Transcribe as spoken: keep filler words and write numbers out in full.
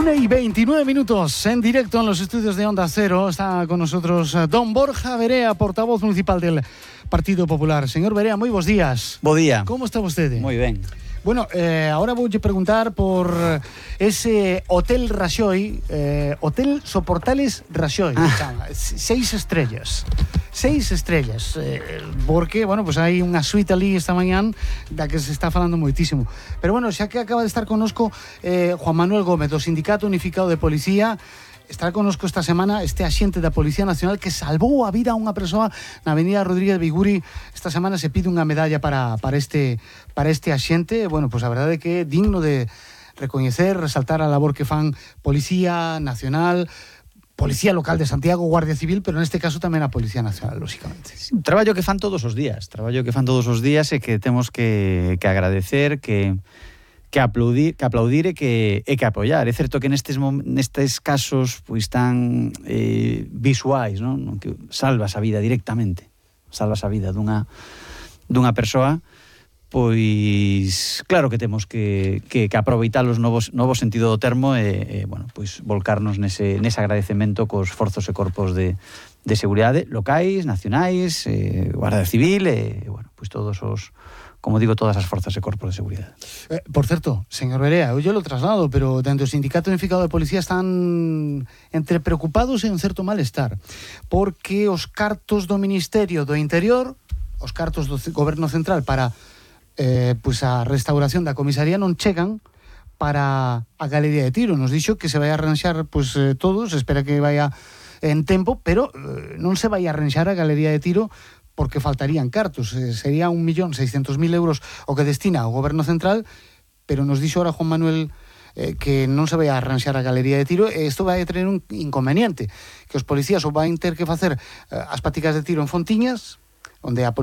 una y veintinueve minutos en directo en los estudios de Onda Cero. Está con nosotros don Borja Verea, portavoz municipal del Partido Popular. Señor Verea, muy buenos días. Bo día. ¿Cómo está usted? Muy ben. Bueno, eh, ahora voy a preguntar por ese Hotel Raxoi, eh, Hotel Soportales Raxoi, ah. seis estrellas, seis estrellas, eh, porque, bueno, pues hai unha suite ali esta mañán da que se está falando moitísimo. Pero bueno, xa que acaba de estar connosco eh, Juan Manuel Gómez, do Sindicato Unificado de Policía, estará connosco esta semana este axente da Policía Nacional que salvou a vida a unha persoa na avenida Rodríguez Biguri. Esta semana se pide unha medalla para, para, este, para este axente. Bueno, pues a verdade é que é digno de recoñecer, resaltar a labor que fan Policía Nacional, Policía Local de Santiago, Guardia Civil, pero neste caso tamén a Policía Nacional, lógicamente. Sí, un traballo que fan todos os días, traballo que fan todos os días e que temos que, que agradecer, que que aplaudir, que aplaudir e que, e que apoiar. É certo que nestes, nestes casos pois tan eh, visuais, non? Que salvas a vida directamente, salvas a vida dunha, dunha persoa, pois claro que temos que, que, que aproveitar os novos, novo sentido do termo e, e bueno, pois volcarnos nese, nese agradecemento cos forzos e corpos de, de seguridade locais, nacionais, eh, Guardia Civil e, bueno, pois todos os, como digo, todas as forzas e corpos de seguridade. Eh, por certo, señor Verea, eu lo traslado, pero dentro do Sindicato Unificado de Policía están entre preocupados e un certo malestar, porque os cartos do Ministerio do Interior, os cartos do Goberno Central para eh, pues a restauración da comisaría non chegan para a Galería de Tiro. Nos dixo que se vai a arranxar pues, eh, todo, se espera que vaya en tempo, pero eh, non se vai a arranxar a Galería de Tiro porque faltarían cartos, eh, sería un millón seiscentos mil euros o que destina ao Goberno Central, pero nos dixo ahora Juan Manuel eh, que non se vai a arranxar a Galería de Tiro e isto vai a tener un inconveniente, que os policías o van ter que facer eh, as paticas de tiro en Fontiñas, onde a